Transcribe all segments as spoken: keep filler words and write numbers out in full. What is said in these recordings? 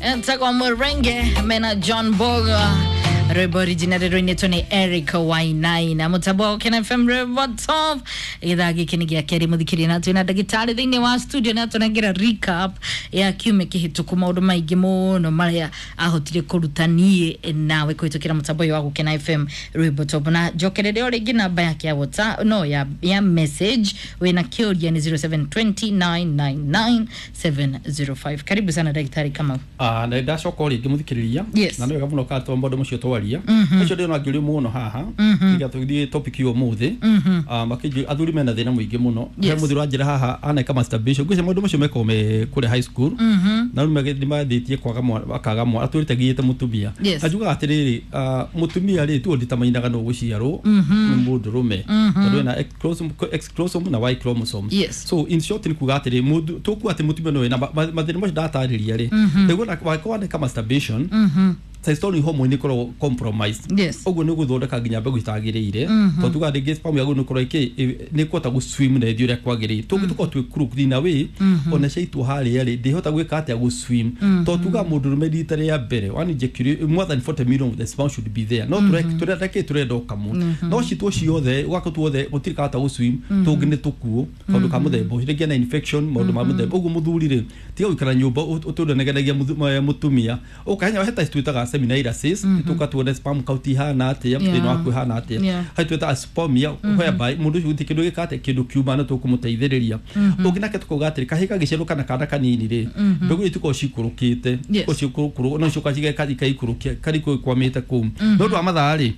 Ntakwa Murenge mena John Boga rwimbo original rwinĩtwo nĩ Eric Wainaina mũtambo wa Ken F M rwimbo top gĩthaa gĩkĩ nĩ gĩa kerĩ mũthikĩria na twĩna ndagĩtarĩ thĩinĩ wa studio na atũnengera recap ya kiumia kĩhĩtũku maũndũ maingĩ mũno marĩa ahotire kũruta niĩ nawe kũhĩtũkĩra mũtambo ũyũ wa Gũkena F M rwimbo top na njokerere o rĩngĩ namba yake ya WhatsApp no ya, ya message wĩna kĩũria nĩ zero seven two nine nine nine seven zero five. Karibu sana ndagĩtarĩ Kamau. Ah, na ndacoka o rĩngĩ mũthikĩrĩria. Yes. Na nĩ wega mũno kana maũndũ macio twaria ũcio ndĩrona ngĩũrio mũno haha nĩgetha tũthiĩ topic ĩyo ũmũthĩ. Ah, makĩnjũ athuri mena thĩna mũingĩ mũno. He Yes. mũthuri wanjĩra haha aneka masturbation ngwĩciria maũndũ macio mekagwo me kũrĩa high school na rĩu nĩ mathĩtie kwaga mwana akaga mwana atũrĩte giĩte mũtumia. Yes. Na njugaga atĩrĩrĩ, ah, mũtumia rĩ tuo nditamainaga no gũciarwo nĩ mũndũrũme tondũ ena X chromosome- X chromosome na Y chromosome. Yes. So in short nĩ kuga atĩrĩ mũndũ tũkuga atĩ mũtumia no wĩna ma- ma- mathĩna macio ndatarĩria rĩ nĩguo wakorwo waneka masturbation testosterone hormone ĩkoragwo compromised. Yes. Ũguo nĩ gũthondeka nginya mbegũ itagĩrĩire tondũ tuga rĩngĩ sperm yaku nĩ ĩkorwo ĩkĩ nĩ ĩkũhota gũ swim na ĩthiĩ ũrĩa kwagĩrĩire tũngĩ tũkorwo twĩ crooked in a way ona ciaitwo harĩa rĩ ndĩhota gwĩka atĩa gũ swim tondũ tuga mũndũrũme rita rĩa mbere one ejaculate more than forty million of the sperm should be there no tũre tũrenda kĩ tũrenda ũkamũ no citwo ciothe ũgakorwo tuothe gũtirĩ kahota gũ swim tũngĩ nĩ tũkuũ kaũndũ ka mũthemba ũcio rĩngĩ ena infection maũndũ ma mũthemba ũguo mũthuri rĩ tiga gũikara nyũmba ũtũre negenagia mũtumia ũkahenya he test twĩtaga seminailysis tũka tuone sperm count ihana atĩa Yeah. thĩna waku ihana atĩa Yeah. harĩ twĩtaga spermia whereby mũndũ ũcio gũtirĩ kĩndũ gĩka atĩa kĩndũ kiuma no tũkũmũteithĩrĩria ũngĩ nake tũkauga atĩrĩ kahĩ gagĩciarwo kana kana kanini rĩ mbegũ iria itikoragwo cikũrũkĩte Yes. cikorwo no ciũka cikaikũrũkia karikũ ikwamĩte kũu nĩ ũndũ wa mathaa rĩ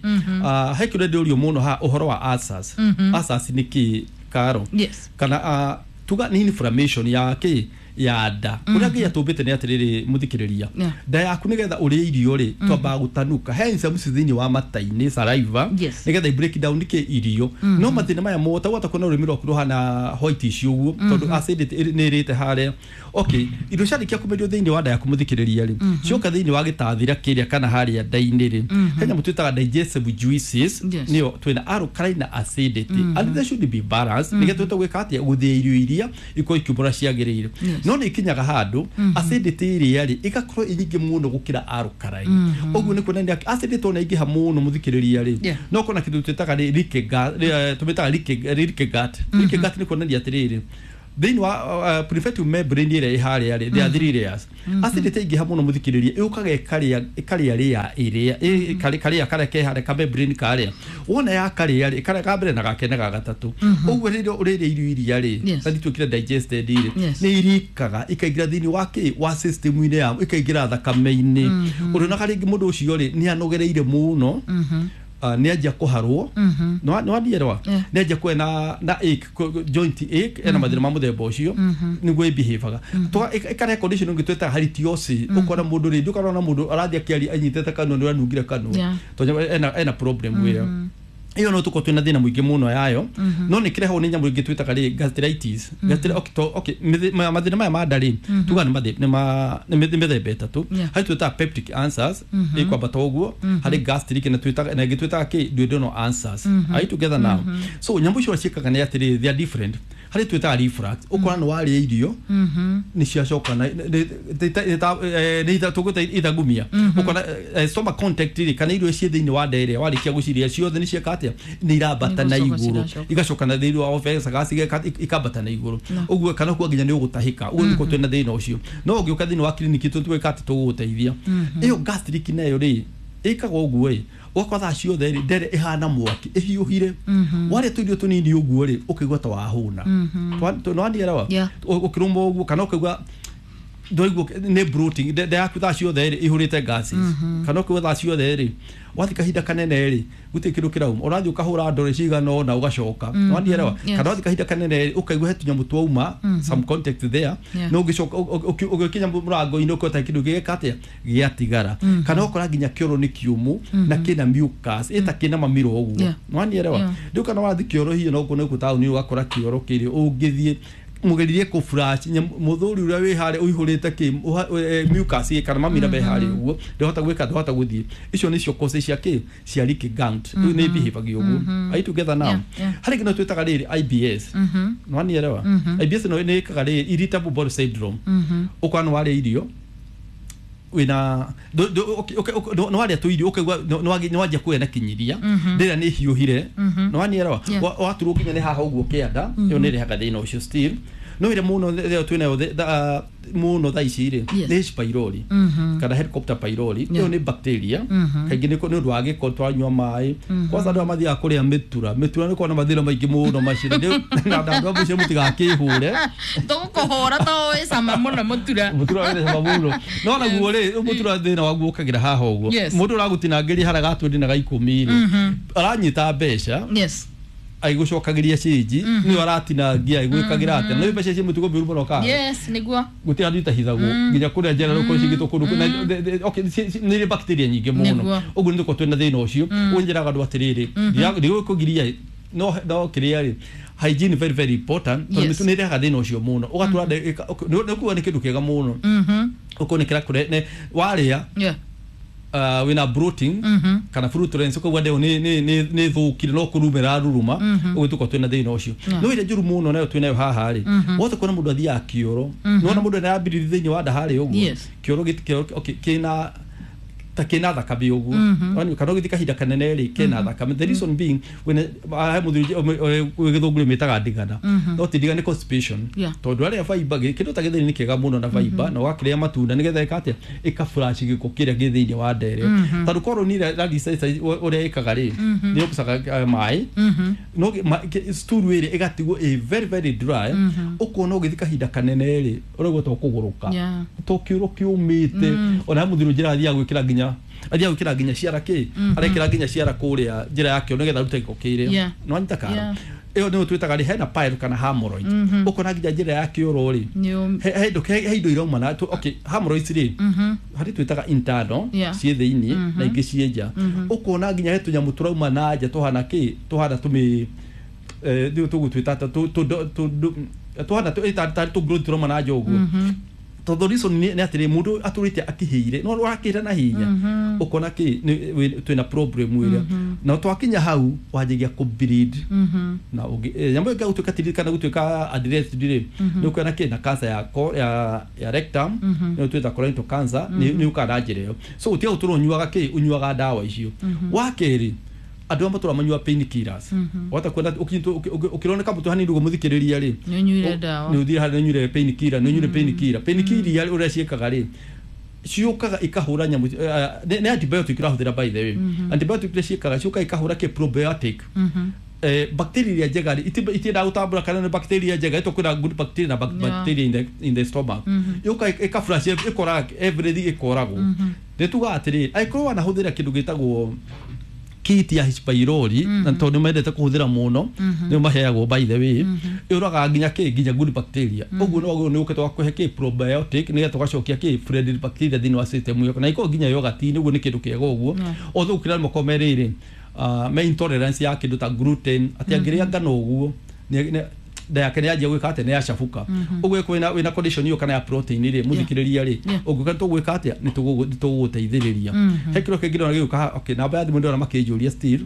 ah, he kĩũria ndĩũrio mũno ha ũhoro wa ulcers. Ulcers nĩ kĩ karo Yes. kana ah, tuga nĩ inflammation ya kĩ ya nda ũrĩa ngai atũmbĩte nĩ atĩrĩrĩ mũthikĩrĩria Yeah. nda yaku nĩgetha ũrĩe irio rĩ twambaga gũtanuka he enzymes thĩinĩ wa mata-inĩ saliva Yes. nĩgetha i break down nĩkĩ irio no mathĩna maya mothe wata kuona rũrĩmĩ rwaku rũhana whitish ũguo tondũ acidity ĩrĩ- nĩ ĩrĩte harĩa okay irio ciarĩkia kũmerio thĩinĩ wa nda yaku mũthikĩrĩria rĩ cioka thĩinĩ wa gĩtathira kĩrĩa kana harĩa nda-inĩ rĩ he nyamũ twĩtaga digestive juices Yes. nĩyo twĩna alkaline na acidity and they should be balanced nĩgetha tũhote gwĩka atĩa gũthĩa irio iria ikorwo ikiumũra ciagĩrĩire. Yes. No nĩ ikinyaga handũ acidity ĩrĩa rĩ ĩgakorwo ĩ nyingĩ mũno gũkĩra alkaline ũguo nĩ kuonania acidity ona ĩngĩha mũno mũthikĩrĩria rĩ Yeah. no kona kĩndũ twĩtaga rĩ leaky gut eh, tũmĩtaga leaky leaky gut. Leaky gut nĩ kuonania atĩrĩrĩ thĩinĩ wa uh, prefective membrane ĩrĩa ĩ harĩa rĩ there are three layers acidity ĩngĩha mũno mũthikĩrĩria ĩũkaga ĩkarĩa ĩkarĩa rĩa ĩrĩa ĩ- karĩ- karĩa karĩa ke harĩa ka membrane karĩa wona ya karĩa rĩ karĩa ka mbere na ga kerĩ na ga gatatũ ũguo rĩrĩa ũrĩrĩa irio iria rĩ Yes. na ituĩkire digested rĩ Yes. nĩ irikaga ikaingĩra thĩinĩ wa kĩ wa system-inĩ ya ikaingĩra thakame-inĩ ũrĩonaga rĩngĩ mũndũ ũcio rĩ nĩ anogereire mũno ah, nĩ anjia kũharwo nĩ wandielewa Yeah. nĩ anjia kuwa na na ache kũ- joint ache ena mathĩna ma mũthemba ũcio nĩguo ĩbehavaga ĩkarehe condition ĩngĩ twĩtaga halitosis ũkona mũndũ rĩ ndũkarona mũndũ arathiĩ akĩaria anyitĩte kanua nĩ ũranungire kanua Yeah. tondũ ena ena problem ĩyo ĩyo no tũkorwo twĩna thĩna mũingĩ mũno yayo no nĩ kĩrehagwo nĩ nyamũ ĩngĩ twĩtaga rĩ gastritis Gastri- okay, to- okay, mĩthĩ- ma- mathĩna maya ma nda rĩ tugaga nĩ mathĩ- nĩ ma- nĩ mĩ- nĩ mĩthemba ĩtatũ. Yeah. Harĩ twĩtaga peptic ulcers ĩkwambata ũguo harĩ gastric na twĩtaga na ĩngĩ twĩtaga kĩ duodenal ulcers. Are you together now? So nyamũ icio ciĩkaga nĩ atĩrĩrĩ they are different. Harĩ twĩtaga reflux ũkora nĩ warĩa irio nĩ ciacoka na nĩ- nĩ- ta- eh, nĩ itha- tũgwĩta ithagumia ũkona eh, stomach contact rĩ kana irio ciĩ thĩinĩ wa nda ĩrĩa warĩkia gũciria ciothe nĩ cieka atĩa nĩ irambata na Nĩgũcoka igũrũ ciracoka. igacoka na thĩinĩ wa esophagus igeka- ikambata na igũrũ ũguo kana kuga nginya nĩ ũgũtahĩka ũguo nĩkuo twĩna thĩna ũcio no ũngĩũka thĩinĩ wa kiriniki tũtwĩka atĩ tũgũgũteithia ĩyo gastric nayo rĩ ĩkaga ũguo ĩ ũgakora thaa ciothe rĩ ndere ĩhana mwaki ĩhiũhire warĩa tũirio tũnini ũguo rĩ ũkaigua ta wahũna nĩwandielewa Yeah. ũkĩrũma ũguo kana ũkaigua ndwaigua nĩ bloating nda nda yaku thaa ciothe rĩ ihũrĩte gases kana ũkaigua thaa ciothe rĩ wathiĩ kahinda kanene rĩ gũtirĩ kĩndũ kĩrauma ũrathiĩ ũkahũra ndore cigana ũna ũgacoka nĩwandielewa Yes. kana wathiĩ kahinda kanene rĩ ũkaigua he tũnyamũ twauma some contact there Yeah. no ũgĩcoka ũgĩkinya mũrango-inĩ ũkota kĩndũ gĩgeka atĩa gĩatigara kana ũkora nginya kĩoro nĩ kĩũmũ na kĩna mucus ĩta kĩna mamiro ũguo Yeah. nĩwanielewa Yeah. rĩu kana wathiĩ kĩoro hihi no kuona gũkũ taũni ũgakora kĩoro kĩrĩ ũngĩthiĩ mũgeririe kũ flush mũthuri ũrĩa wĩ harĩa ũihũrĩte kĩ ũha- eh, mucus ĩ, kana mamira me harĩa ũguo ndahota gwĩka ndahota gũthiĩ icio nĩcio causes cia kĩ cia leaky gut rĩu nĩ behave ũguo. Are you together now? Yeah, yeah. Harĩ kĩndũ twĩtaga rĩrĩ I B S nĩwanielewa I B S no nĩ ĩkaga rĩrĩ irritable bowel syndrome ũkona nĩ warĩa irio wina no waria tuirio ukaigua no wanjia kuya na kinyiria ndira ni hiuhire no wanielewa waturwo nginya ni haha uguo kianda iyo ni rehaga thina ucio still no ire muno twinayo muno thaa ici ri ni H pylori kana Helicobacter pylori iyo ni bacteria kaingĩ nĩ ũndũ wa gĩko twanyua maĩ kwanza andũ arĩa mathiaga kũrĩa mĩtura mĩtura nĩ kona mathĩna maingĩ mũno macio na andũ a mũciĩ mũtigakĩhũre tũgũkũhũra to wĩ cama mũno mũtura mũtura wĩ cama mũno no naguo rĩ mũtura thĩna waguo ũkagĩra haha ũguo mũndũ ũragũtinangĩria harĩa ga twendi na ga ikũmi rĩ aranyita mbeca yes aigũcokagiria cinji nĩ aratinangia aigwĩkagĩra atĩa na mbeca ici mũtugo mĩũru mũno kana yes nĩguo gũtirĩ handũ itahithagwo nginya kũrĩa njera rũkorwo cigĩtwo kũndũ okay nĩ irĩ bacteria nyingĩ mũno ũguo nĩ tũkorwo twĩna thĩna ũcio ũguo njĩraga andũ atĩrĩrĩ ndigũkũgiria no no kĩrĩa rĩ hygiene very very important tondũ mĩtu nĩ ĩrehaga thĩna ũcio mũno ũgatũra nĩ kuga nĩ kĩndũ kĩega mũno ũkorwo nĩ kĩrakũre warĩa uh, wina bloating mm -hmm. kana flatulence ukaigua ndeo ni ni ni ni thukire no kurumira ruruma mm -hmm. uguo tuko twina thina ucio yeah. No ire njuru muno nayo twinayo haha ri mm -hmm. wothe kuona mundu athiaga kioro mm -hmm. nona mundu ena ambiriri thiini wa nda hari uguo yes. Kioro giti okay kina ta kina thakame uguo mm -hmm. Kana ugithi kahinda kanene ri kina thakame the reason being when he muthuri githunguri metaga ndigana no ti ndigana ni constipation Yeah. Tondu aria fiber kindu ta githeri ni kiega muno na fiber na wakiria matunda nigetha ika atia ika flush giko kiria gi thiini wa ndere tondu korwo ni ra research uria ikaga ri ni ukucaga mai no stool iri igatigwo a very very dry ukona ugithi kahinda kanene ri uraigua to kuguruka to kiuro kiumite ona muthuri njira athiaga gwikira nginya athia gwikira nginya ciara ki arekira nginya ciara kuria njira yakio nigetha arute giko kiria no anyita kara iyo nĩ twĩtaga rĩ hena pile kana hemorrhoid ukona nginya njĩra ya kĩoro rĩ he indo he indo irauma na okay hemorrhoids rĩ harĩ twĩtaga internal ciĩ thĩinĩ na ingĩ ciĩ nja ukona nginya he tũnyamũ tũrauma na nja tũhana kĩ tũhana tũmĩ eh tũgũtwĩta tũ tũ tũhana tarĩ tũ growth tũrauma na nja ũguo tondũ reason nĩ atĩrĩ mũndũ atũrĩte akĩhĩire no ũrakĩhĩra na hinya ũkona kĩ twĩna problem ĩrĩa na twakinya hau wanjagia kũ bleed na nyamũ ĩngĩ gũtuĩka tiri kana gũtuĩka addressed rĩ nĩ ũkuona kĩ na cancer ya ya ya rectum nĩ twĩta colorectal cancer nĩ ũkaga na njĩra ĩyo so gũtiga gũtũra ũnyuaga kĩ ũnyuaga ndawa icio wa kerĩ andũ amwe matũra manyua pain killers wata kwenda ukironeka mũtu hanini ũguo mũthikĩrĩria rĩ nĩ ũnyuire ndawa nĩ ũthire harĩa nĩ ũnyuire pain killer nĩ ũnyuire pain killer pain killer ũrĩa ciĩkaga rĩ ciũkaga ikahũra nyamũ nĩ antibiotic ũrahũthĩra by the way antibiotic iria ciĩkaga ciũkaga ikahũra kĩ probiotic eh bacteria iria njega rĩ itiendaga gũtambũra kana nĩ bacteria njega ĩtũ kwĩna good bacteria na bacteria in the in the stomach yũka ĩka flush ĩkoraga everything ĩkoragwo nĩ tugaga atĩrĩrĩ angĩkorwo wanahũthĩra kĩndũ gĩtagwo kit ya H pylori na tondu mendete kuhuthira muno ni maheagwo by the way yuraga nginya ki nginya good bacteria uguo no uguo ni ukete wa kuhe ki probiotic ni getha ugacokia ki friendly bacteria thini wa system yaku na iko nginya yogurt ni uguo ni kindu kiega uguo othe ukira moko meriri me intolerance ya kindu ta gluten ati angiria ngano uguo nda yake nĩ yanjia gwĩka atĩa nĩ yacabuka ũguo kwĩna wĩna condition ĩyo kana ya protein rĩ mũthikĩrĩria rĩ ũngĩũka tũgwĩka atĩa nĩ tũgũgũteithĩrĩria he kĩro kĩngĩ ndĩrona gĩgũka okay namba ya thimũ ndĩrona makĩnjũria still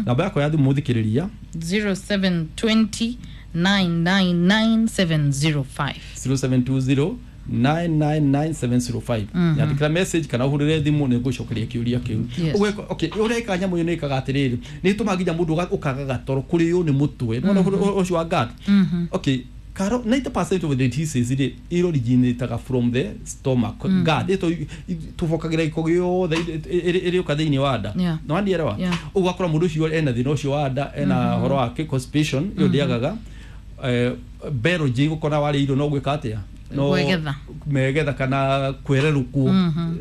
namba yakwa ya thimũ mũthikĩrĩria zero seven two zero nine nine nine seven zero five zero seven two zero nine nine nine seven zero five nyandĩkĩra message kana ũhũrĩre thimũ nĩ ngũcokeria kĩũria kĩu ũguo okay ũrĩa ĩkaga nyamũ ĩyo nĩ ĩkaga atĩrĩrĩ nĩ ĩtũmaga nginya mũndũ ũkaga gatoro kũrĩo nĩ mũtwe nĩwona ũcio wa gut okay karo ninety percent of the diseases rĩ ĩoriginataga from the stomach gut ĩto tũbokagĩra gĩko gĩothe ĩrĩũka thĩinĩ wa nda nĩ wandielewa ũguo ũgakora mũndũ ũcio ena thĩna ũcio wa nda ena ũhoro wa constipation ĩyo ndĩagaga belgium gũkora warĩa irio no gwĩka atĩa no Kwegetha. megetha kana kwererukwo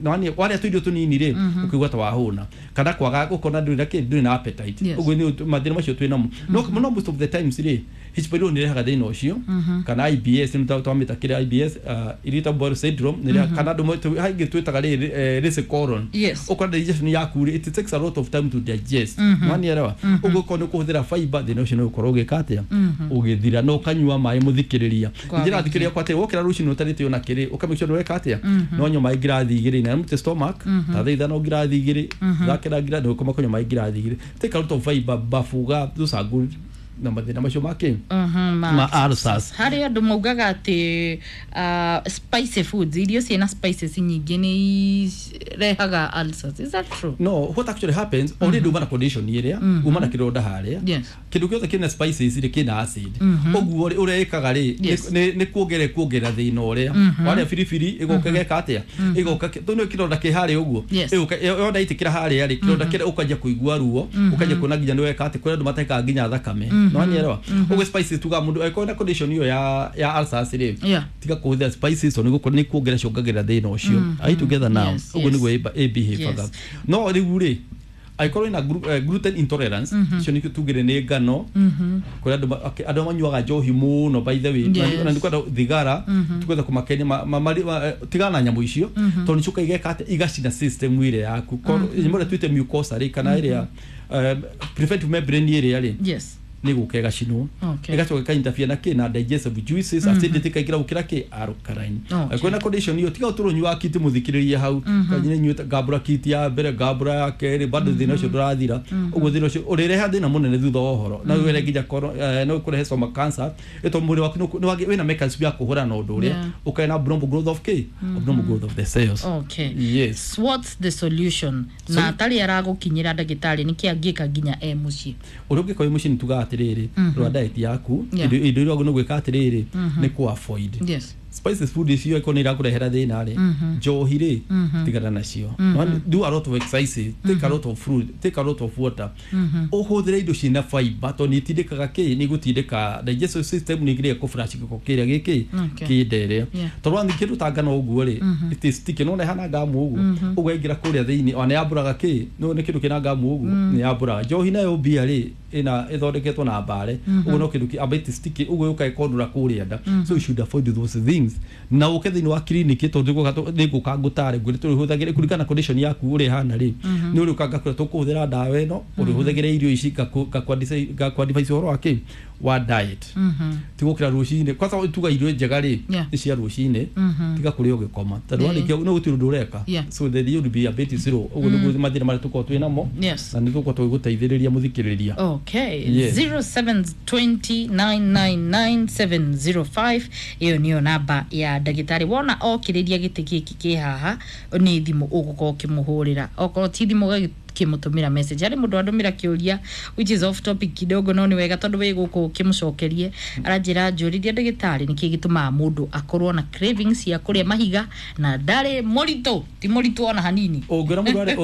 no wani waria tuirio tunini ri ukigwa ta wahuna kana kwaga ukona nduri na kindi nduri na appetite Yes. uguo ni mathina macio twina mo no no most of the times ri H pylori ni rehaga thina ucio kana I B S ni twamita kire I B S uh, irritable bowel syndrome ni rehaga kana andu haingĩ twĩtaga rĩ rĩ colon Yes. ukona digestion yaku rĩ it takes a lot of time to digest wanielewa uguo korwo nĩ ũkũhũthĩra fiber thĩna ũcio nĩ ũgũkorwo ũgĩka atĩa ũgĩthira na ũkanyua maĩ mũthikĩrĩria Kwa njĩra wĩingĩ. thikĩrĩria kwa atĩ wokĩra rũcinĩ ũtarĩte ona kĩrĩ ũkamake sure nĩweka atĩa no nyua maĩ ngirathi igĩrĩ na empty stomach ta thaa ithano ngirathi igĩrĩ thakĩra ngirathi ũkoma kũnyua maĩ ngirathi igĩrĩ take a lot of fiber bafuga those are good na mathĩna macio makĩ Mhm, ma- ma ulcers. Harĩ andũ maugaga atĩ uh, spicy foods, irio ciĩna spices nyingĩ nĩ irehaga ulcers. Is that true? No, what actually happens, already uma na condition ĩrĩa uma na kĩronda harĩa, Yes. kĩndũ gĩothe kĩna spices rĩ kĩna acid. Ũguo rĩ, ũrĩa ĩkaga rĩ, Yes. nĩ nĩ kuongerera kuongerera thĩna ũrĩa warĩa biribiri ĩgoka geka atĩa, ĩgoka tondũ nĩ kĩronda kĩ harĩa ũguo, Yes. ĩgoka yona itĩkĩra harĩa rĩ, kĩronda kĩrĩa ũkanjia kũigua ruo, ũkanjia kuona nginya nĩ weka atĩ kũrĩ andũ matekaga nginya thakame, no nielewa. Ũguo spices tuga mũndũ angĩkorwo na condition ĩyo ya ya ulcers rĩ, Yeah. tiga kũhũthĩra spices tondũ nĩ nĩ kuongerera ciongagĩrĩra thĩna ũcio. Are you together now? Yes, Ũguo yes. nĩguo ĩ behavior. Yes. No rĩu rĩ, angĩkorwo wĩna glu- eh, gluten intolerance, icio nĩkĩo tugire nĩ ngano, kũrĩa andũ ma- okay, andũ manyuaga njohi mũno, by the way, Yes. na nĩ kwenda thigara, tukwenda kũmakenia ma- ma- mari- ma- eh, tigana na nyamũ icio tondũ nĩcio igeka atĩ igacina system ĩrĩa yaku. Korwo- nyamũ ĩrĩa twĩte mucosa rĩ, kana ĩrĩa eh, preventive membrane ĩrĩa rĩ, Yes. nĩ gũka ĩgacinwo, Okay. ĩgacoka ĩka-interfere na kĩ na digestive juices, acidity ĩkaingĩra gũkĩra kĩ alkaline. Okay. Kwĩna condition ĩyo, tiga ũtũrwo nyua kiti mũthikĩrĩrie hau kanyine nyuĩte ngambũra kiti ya mbere, ngambũra ya kerĩ, bado thĩna ũcio ndũrathira. Ũguo thĩna ũcio ũrĩreha thĩna mũnene thutha wa ũhoro, no wĩre nginya koro- eh, no ũkũrehe stomach cancer, ĩtondũ mwĩrĩ waku nĩ ũkũ- nĩ wagĩ- wĩna mechanism ya kũhũrana na ũndũ ũrĩa Yeah. ũkae na abnormal growth of kĩ abnormal growth of the cells. Okay. Yes. What's the solution? Na atarĩ aragũkinyĩra ndagĩtarĩ, nĩkĩ angĩka nginya e mũciĩ? Ũrĩa ũngĩka wĩ mũciĩ nĩ tugaga atĩrĩrĩ, rora diet yaku. Yeah. Indo indo iria wagĩrĩirwo nĩ gwĩka atĩrĩrĩ nĩ kũ avoid Yes. spices food icio ĩkorwo nĩ irakũrehera thĩna rĩ, njohi rĩ, tigana nacio. No, do a lot of exercise, take a lot of fruit, take a lot of water, ũhũthĩre indo ciĩna fiber tondũ nĩ itindĩkaga kĩ nĩ igũtindĩka digestive system, nĩ ĩgĩrĩga kũflush gĩko kĩrĩa gĩkĩ Okay. kĩndere. Yeah. Tondũ wathiĩ kĩndũ ta ngano ũguo rĩ, it is sticky, nĩwona ĩhana ngamu ũguo, ũguo yaingĩra kũrĩa thĩinĩ ona yambũraga kĩ no nĩ kĩndũ kĩna ngamu ũguo nĩ yambũraga. Njohi nayo mbia rĩ, ĩna ĩthondeketwo na mbare ũguo, no kĩndũ kĩ amba it is sticky ũguo yũka ĩkondũra kũrĩa nda. So you should avoid those things na ũke thĩinĩ wa clinic tondũ nĩngũka nĩngũka ngũtare ngwĩre tũrĩhũthagĩre kũringana na condition yaku ũrĩa ĩhana rĩ, nĩ ũrĩũka ngakwĩra tũkũhũthĩra ndawa ĩno, ũrĩhũthagĩre irio ici, ngakũ advise ũhoro wa kĩ wa diet. Ti gũkĩra rũcinĩ kwanza, tuga irio njega rĩ Yeah. nĩ cia rũcinĩ, tiga kũrĩa ũgĩkoma tondũ Yeah. warĩkia no gũtirĩ ũndũ ũreka. Yeah. So the you will be a bit zero. Ũguo nĩguo mathĩna marĩa tũkoragwo twĩ namo Yes. na nĩ tũkoragwo tũgĩgũteithĩrĩria mũthikĩrĩria. Okay. Yes. zero seven two zero nine nine nine seven zero five, ĩyo nĩyo namba ya ndagĩtarĩ. Wona okĩrĩria gĩtĩ gĩkĩ kĩ haha, nĩ thimũ ũgũkorwo ũkĩmũhũrĩra, okorwo ti thimũ ũgakĩmũtũmĩra message. Harĩ mũndũ andũmĩra kĩũria which is off topic kidogo, no nĩ wega tondũ wĩ gũkũ ũkĩmũcokerie. Aranjĩra njũrĩria ndagĩtarĩ nĩkĩ gĩtũmaga mũndũ akorwo na cravings cia kũrĩa mahiga na ndarĩ mũritũ, ti mũritũ ona hanini. Ũngĩona mũndũ arĩ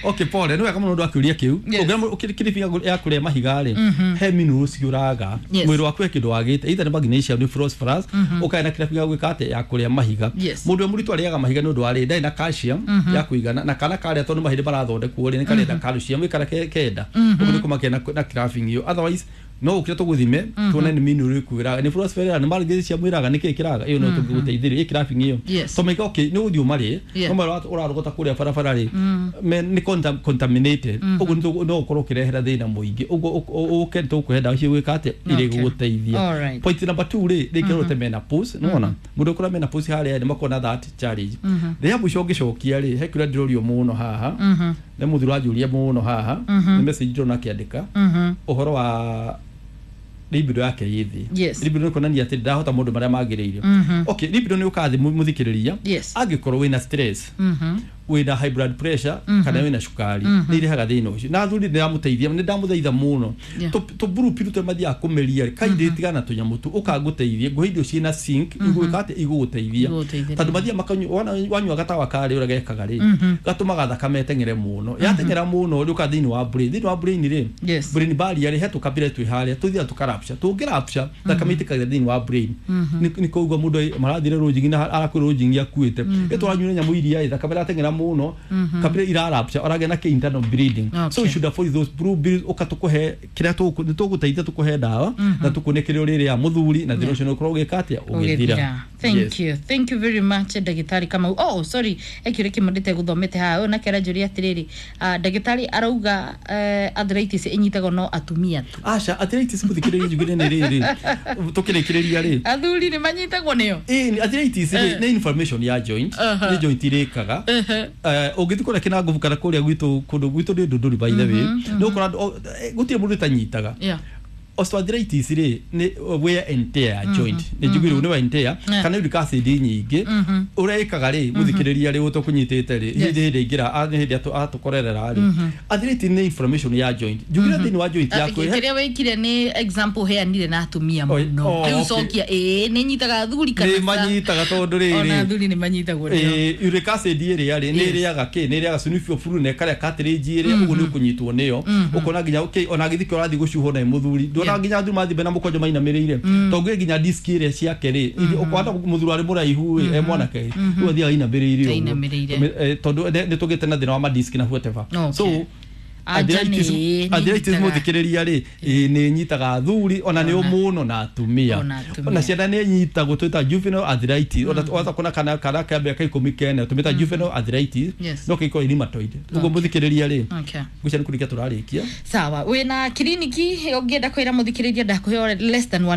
okay, pole, nĩ wega mũno ũndũ akĩũria kĩu. Yes. Ũngĩona mũndũ kĩrĩbia ya kũrĩa mahiga rĩ, he minerals ũraga. Yes. Mwĩrĩ waku he kĩndũ wagĩte, either nĩ magnesium, nĩ phosphorus, ũkae na kĩrabu ya gwĩka atĩa ya kũrĩa mahiga. Yes. Mũndũ ũrĩa mũritũ arĩaga mahiga nĩ ũndũ wa rĩ, ndarĩ na calcium ya kũigana, na kana karĩa tondũ mahĩndĩ marathondekwo rĩ, nĩ karenda calcium ĩkara ke- kenda, ũguo nĩ kũmakĩa na na craving ĩyo. Otherwise no ũkĩre tũgũthime tuone nĩ mineral ĩrĩkũ ĩraga, nĩ phosphorus, nĩ magnesium ĩraga, nĩ kĩĩ kĩraga, ĩyo no tũngĩgũteithĩrĩria ĩ craving ĩyo. Yes. To maika okay, nĩ ũthiĩ ũmarĩe, Yeah. no marĩa ũrarogota kũrĩa barabara rĩ, me- nĩ contam- contaminated, ũguo nĩ no ũkorwo ũkĩrehera thĩna mũingĩ. Ũguo ũke tũkũhe ndawa cio gwĩka atĩa irĩ Okay. gũgũteithia. Alright. Point number two rĩ, rĩngĩ ũrote menopause, nĩwona mũndũ ũkora menopause harĩa nĩ makona that challenge. Rĩa mũico ũngĩcokia rĩ, he kĩũria ndĩrorio mũno haha, nĩ mũthuri ũranjũria mũno haha, nĩ message ndĩrona akĩandĩka ũhoro wa libido yake ĩ thĩ. Yes. Libido nĩ kuonania atĩ ndahota maũndũ marĩa magĩrĩire. Okay, libido nĩ ũkaga thĩ mũthikĩrĩria Yes. angĩkorwo wĩna stress, wĩna high blood pressure, kana wĩna cukari, nĩ irehaga thĩna ũcio. Na athuri nĩ ndamũteithia, nĩ ndamũthaitha mũno, Yeah. tũburu tũrĩa mathiaga kũmeria rĩ, kaindĩ tigana na tũnyamũ tu, ũkangũteithie ngũhe indo ciĩna zinc igwĩka atĩ igũgũteithia. Igũgũteithĩrĩria. Tondũ mathiaga makanyua, wana- wanyua gatawa karĩ, ũrĩa gekaga rĩ, gatũmaga thakame ĩteng'ere mũno, yateng'era mũno rĩ, ũka thĩinĩ wa brain, thĩinĩ wa brain rĩ, Yes. brain barrier rĩ, he tũkabira twĩ harĩa tũthiaga tũkarapture, tũngĩrapture thakame ĩtĩkagĩra thĩinĩ wa brain. Nĩ nĩ koguo mũndũ marathire rũnjingi na arakwĩra rũnjingi akuĩte ĩtũranyuire nyamũ iria ĩ thakame ĩrateng'era mũno, kabira irarapture, ũragĩa na kĩ internal bleeding. So Okay. you should avoid those blue pills. Ũka tũkũhe kĩrĩa tũgũ- nĩ tũgũteithia, tũkũhe ndawa na tũkuone kĩrĩa ũrĩrĩa mũthuri, na thĩna ũcio nĩ ũkorwo ũgĩka atĩa ũgĩthira. Ũgĩthira. Thank Yes. you, thank you very much, ndagĩtarĩ Kamau. Oh, sorry, ekĩũria kĩmwe ndĩtegũthomete haha. Ũyũ nake aranjũria atĩrĩrĩ, ah, ndagĩtarĩ arauga eh, arthritis ĩnyitagwo no atumia tu? Aca, arthritis mũthikĩrĩria njugire nĩ rĩrĩ, tũkĩrĩkĩrĩria rĩ, Athuri nĩ manyitagwo nĩyo? Ĩĩ, arthritis rĩ nĩ inflammation ya joint, Aha. nĩ joint irĩkaga. Eh, ũngĩthiĩ kũrĩa kĩnangobu kana kũrĩa gwitũ, kũndũ gwitũ nĩ ndũndũri, by the way, nĩ ũkora andũ- o- eh, gũtirĩ mũndũ ũtanyitaga. Yeah. Osteoarthritis rĩ nĩ wear and tear ya joint, nĩ njiguire nĩ wear and tear Yeah. kana uric acid nyingĩ ũrĩa ĩkaga rĩ, mũthikĩrĩria rĩ, ũtũkũnyitĩte rĩ, hĩndĩ hĩndĩ aingĩra a- nĩ hĩndĩ atũ- atũkorerera rĩ, arthritis nĩ inflammation ya joint, njugire thĩinĩ wa joint yaku. Kĩrĩa wĩkire nĩ example heanire na atumia Oi, mũno. oh, Rĩu okay. cokia, ĩĩ, nĩ nyitaga athuri kana Nĩ ca? manyitaga tondũ Ona rĩrĩ athuri nĩ manyitagwo nĩo. Ĩĩ, uric acid ĩrĩa rĩ nĩ Yes. ĩrĩaga kĩ, nĩ ĩrĩaga synovial fluid na ĩkarĩa cartilage ĩrĩa, ũguo nĩ ũkũnyitwo nĩyo, ũkona nginya okay, ona gĩthikĩ ũrathiĩ gũcuhwo na mũthuri ndona Yeah. nginya athuri mathiĩ mena mũkonjo mainamĩrĩire, tondũ gwĩ nginya disk ĩrĩa ciake rĩ, ũkona mũthuri arĩ mũraihu ĩ, e mwanake ĩ, rĩu athiaga ainamĩrĩire ũguo. Ainamĩrĩire. Eh, tondũ nĩ nĩ tũgĩte na thĩna wa madisk na whatever. Okay. So Anja arthritis nĩ- nĩ arthritis nyitaga. mũthikĩrĩria rĩ, ĩ, nĩ nyitaga athuri ona nĩ Ona. mũno na atumia. Ona atumia. Ona ciana nĩ nyitagwo, twĩta juvenile arthritis, ona waza kuona kana kana ka mĩaka ikũmi kene tũmĩta juvenile arthritis. Yes. No kĩkorwo rheumatoid ũguo, mũthikĩrĩria rĩ, Okay. ngwĩciria nĩ kũrĩkia tũrarĩkia. Sawa, wĩna kiriniki ũngĩenda kwĩra mũthikĩrĩria, ndakũhe less than one.